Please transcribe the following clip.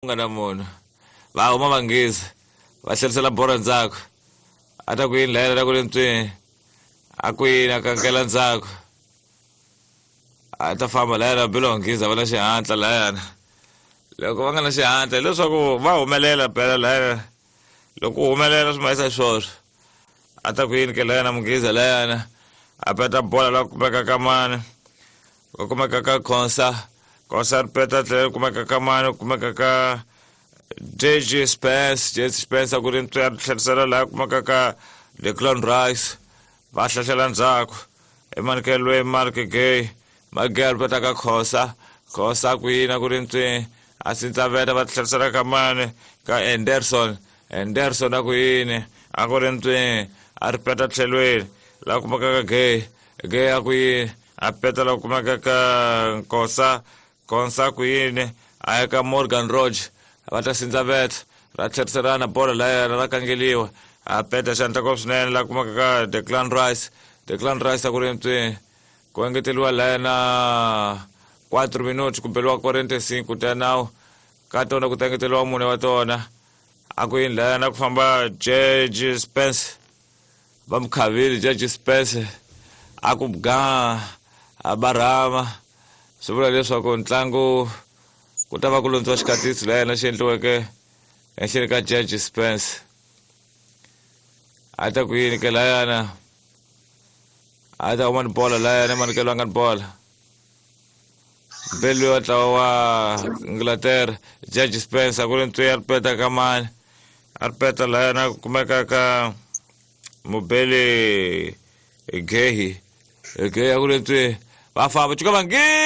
Nga na munhu va huma vanghezi va tlherisela bolo ndzhaku a ta ku yini layela ta ku ri ntswini a ku yini a kankela ndzhaku a ta famba layana belo vanghizi a va na xihatla layana loko va nga na xihatla hileswaku va humelela phela layana loko u humelela swi mayisa swoswo a ta ku yini ke layana munghiza layana a peta bola la kumeka ka mani ku kumeka ka Khonsa Khonsa ri peta tlhela kumeka ka mani kumeka ka JJ Spence JJ Spence a ku ri ntswi a ri tlherisela laha kumeka ka Declan Rice va hlahlela ndzhaku emanekelweni Mark Gay Mark Gay a ri peta ka Khosa Khosa ku yini a ku ri ntswi a sindzaveta va tlherisela ka mani ka Anderson Anderson a ku yini a ku ri ntswi a ri peta tlhelweni laha kumeka ka Gay Gay a ku yini a peta la kumeka ka Nkosa Konsa ku yini a ya ka Morgan Roge va ta sindzaveta ra tlheriselana bolo la yena ra kangeliwa a peta xandla ko swinene la kumeka ka Declan Rice Declan Rice a ku ri ntswi ku engeteliwa la yena 4 minuti ku beliwa 45 ta nawu ka tona ku ta engeteliwa mune wa tona a ku yini la yena ku famba George Spence va mu khavile George Spence a ku ga a barhama swi vula leswaku ntlangu ku ta va ku londziwa xikatisi la yena xi endliweke ehenhleni ka George Spence a ta ku yini ke layana a ta huma ni bola layana manikelo a nga ni bola mbeli wa ntlawa wa Inglaterra George Spence a ku ri ntswi a ri peta ka mani a ri peta layana ku kumeka ka mubeli gehi gehi a ku ri ntswi va famba cuka vangi.